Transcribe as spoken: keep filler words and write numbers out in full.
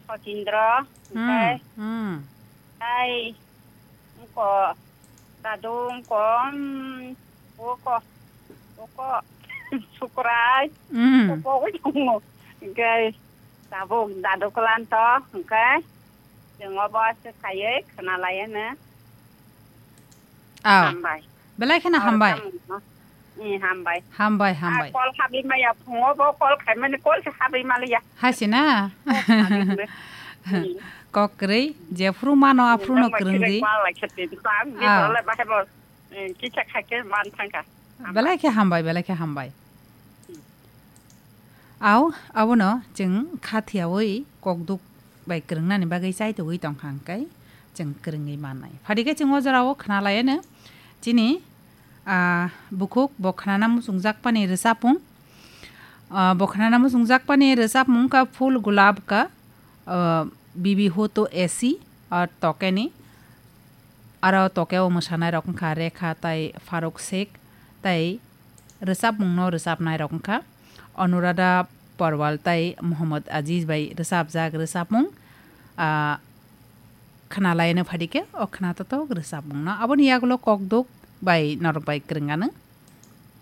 Kotindro, hmm, hwnkhe hmm. Tai wngko, dadu wngko, um, wngko, wngko, Sukrai, hmm. Wngko wngko, hwnkhe tabuk dadu kwlanto, hwnkhe chwng obo se khaiwi khwnalaiyano. Aw. Hambai. Belai kheno hambai. Aw, hambai. Eh, hambai. Hambai, hambai. Ah, call habwi maya, phungo bo call khaimani, call se habwi maliya. Hai se na? Call habwi maliya. Hmm. Kok kwrwi, jephru mano, hmm, aphru no tamo kwrwng di. Kwrwng ma lai khe twi, bang di. Aw. Borok lai bahai bo, eh, kisa khai khe man thangkha. Hambai. Belai khe hambai, belai khe hambai. Hmm. Aw, abono chwng khathiyawi kokduk bai kwrwngnani bagwi chaitugwi tongkha hwnkhe chwng kwrwngwi mannai. Phadikhe chwng o jorao khwnalaiyano chini, ah, bukhuk bo khnana muchungjakmani rwchapmung. Ah, bo khnana muchungjakmani rwchapmung wngkha Phul Gulab ka, ah, Bibi Ho To Aisi, ah, Tokeni. Aro Tokeo mwsanairok wngkha Rekha tai Faruk Sheikh tai rwchapmungno rwchapnairok wngkha Anuradha Porwal tai Mohammad Aziz bai rwchapjak rwchapmung, ah, khwnalaiyano phadikhe o khwnatotok rwchapmungno. Aboni yagulo kokduk bai norok bai kwrwng anw.